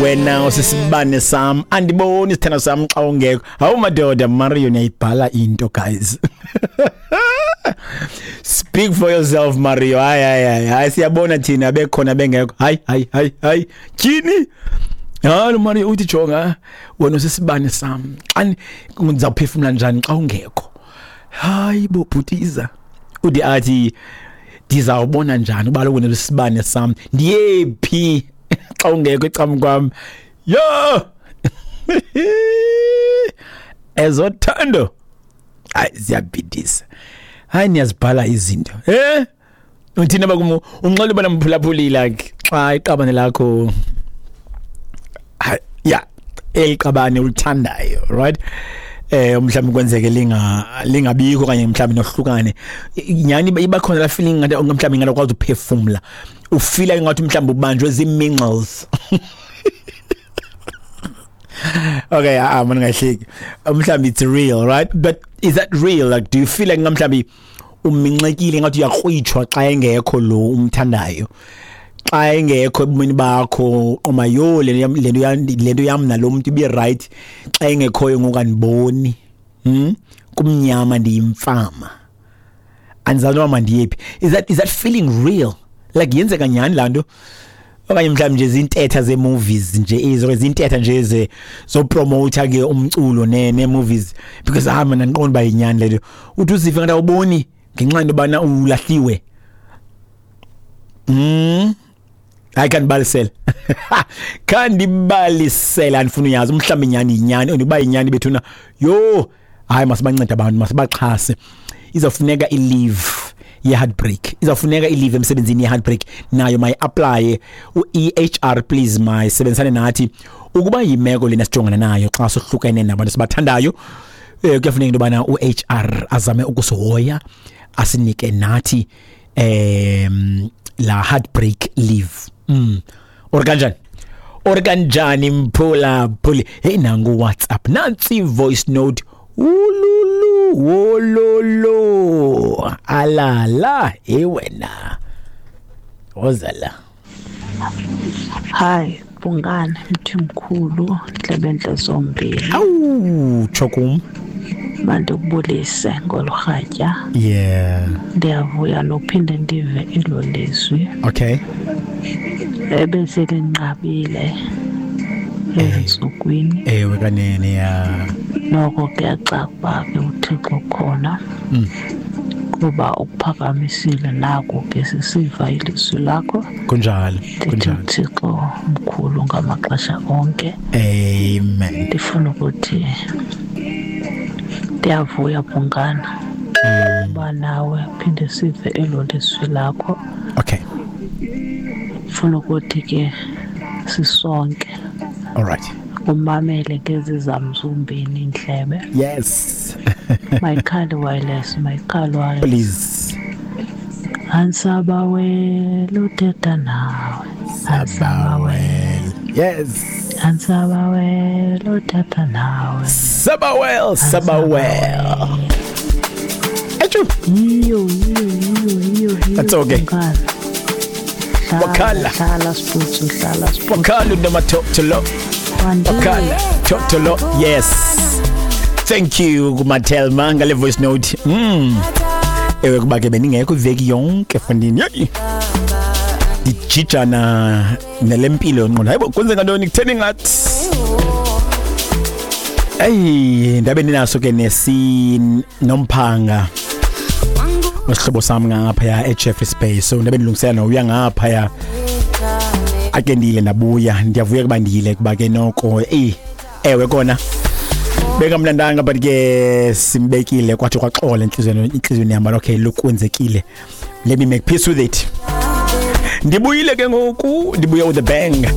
Wena usisibane sam, andiboni isithando sam xa ungekho. Hawu madoda, Mario, niyayibhala into, guys. Speak for yourself, Mario. Hayi, hayi, hayi, hayi, siyabona thina bekhona bengekho. Hayi, hayi, hayi, hayi, tyhini. Hayi, lo Mario uthi, jonga, wena usisibane sam, xa ndizawuphefumla njani xa ungekho? Hayi bo, bhutiza. Ude athi, ndizawubona njani uba wena usisibane sam, ndiyephi xa ungekho ecam kwam? Yho, ezothando, hayi, ziyabhidisa. Hayi, niyazibhala izinto. Uthini abakumu unxele ubana mphulaphuli, like xa iqabane lakho, hayi, ya, eliqabane ulithandayo, right, mhlawumbe kwenzeke lingabikho okanye mhlawumbe nohlukane nyani, iba khona la feeling ngathi mhlawumbe ingakwazi uphefumla, ufila ngathi mhlawumbe ubanjwe zii-mingles. Okay, ah, man, ngahleki. Mhlawumbe it's real, right? But is that real? Like, do you feel like mhlawumbe uminxekile, ngathi uyakrwitshwa xa engekho lo umthandayo, xa engekho ebomini bakho? Qoma yo, le nto yam nalo muntu ibe right, xa engekhoyo ngoku andiboni, Kumnyama, ndiyimfama, andizazi noba mandiyephi. Is that feeling real? Like, yenzeka nyhani laa nto, okanye mhlawumbi nje zintetha ze-movies nje ezo, zintetha nje ze zopromota ke umculo ne-movies? Because ah, mina ndiqonda uba yinyani le nto. Uthi uzive ngathi awuboni ngenxa yento yobana ulahliwe. Hayi, khandibalisele, khandibalisele, andifuna uyazi mhlawumbi inyani yinyani, and uba yinyani bethuna, yho, hayi, masibancede abantu, masibaxhase. Izawufuneka i-leave ye-heartbreak, izawufuneka i-leave emsebenzini ye-heartbreak, nayo mayi-applye u-EHR, please, mayisebenzisane nathi. Ukuba yimeko lena sijongana nayo xa sohlukene nabantu sibathandayo, kuyafuneka into yobana u-HR azame ukusihoya, asinike nathi la heartbreak leave. Or kanjani, or kanjani, mphula phuli? Hey, nangu WhatsApp, nansi voice note. Ululu wololo, alala, hey wena, woza la. Hayi Bhungane, mthimkhulu, ndlebentle zombini. Awu, tsho kum. Mandikubulise ngolu rhatya. Ndiyavuya nophinde ndive elo lizwi ebeselinqabile ezintsukwini. Ewe kanene, ya. Noko kuyacaca uba ke uThixo ukhona, kuba ukuphakamisile, naku ke sisiva ilizwi lakho. Kunjalo. Ndithi Kunjalo. uThixo mkhulu ngamaxesha onke. Amen. Ndifuna ukuthi ndiyavuya, Bhungana, uba nawe phinde sive elo lizwi lakho. Funa ukuthi ke sisonke All right. umamele ngezi zam zombini iindlebe. Mayikhale wireless, mayikhale wireless. Please. Ansabawela uthetha nawe, ansabawela. Ansabawela uthetha nawe. Sabawel, sabawel. Achu. Yiyo, yiyo, yiyo, yiyo, yiyo. That's okay. Bhungane. Hlala, Wakhala. hlala sibutsu, hlala sibutsu. Wakhala unomathotholo. Wakhala totolo. Yes. Thank you kuMatelma ngale voice note. Ewe, kuba ke beningekho iveki yonke fondini. Yeyi. Ndijijana nelempilo yonqondo. Hayibo, kwenzeka ntoni, kutheni ngathi? Ey, ndabe ndinaso ke nesi nomphanga wesihlobo sam ngaphaya eJeffreys Bay, so ndabe ndilungisela nokuya ngaphaya, ake ndiyile, ndabuya. Ndiyavuya kuba ndiyile, kuba ke noko, eyi, ewe kona bekamnandanga, but ke simbekile, kwathi kwaxola entliziyweni yam. Okay, look, kwenzekile, let me make peace with it. Ndibuyile ke ngoku, ndibuye with a bang.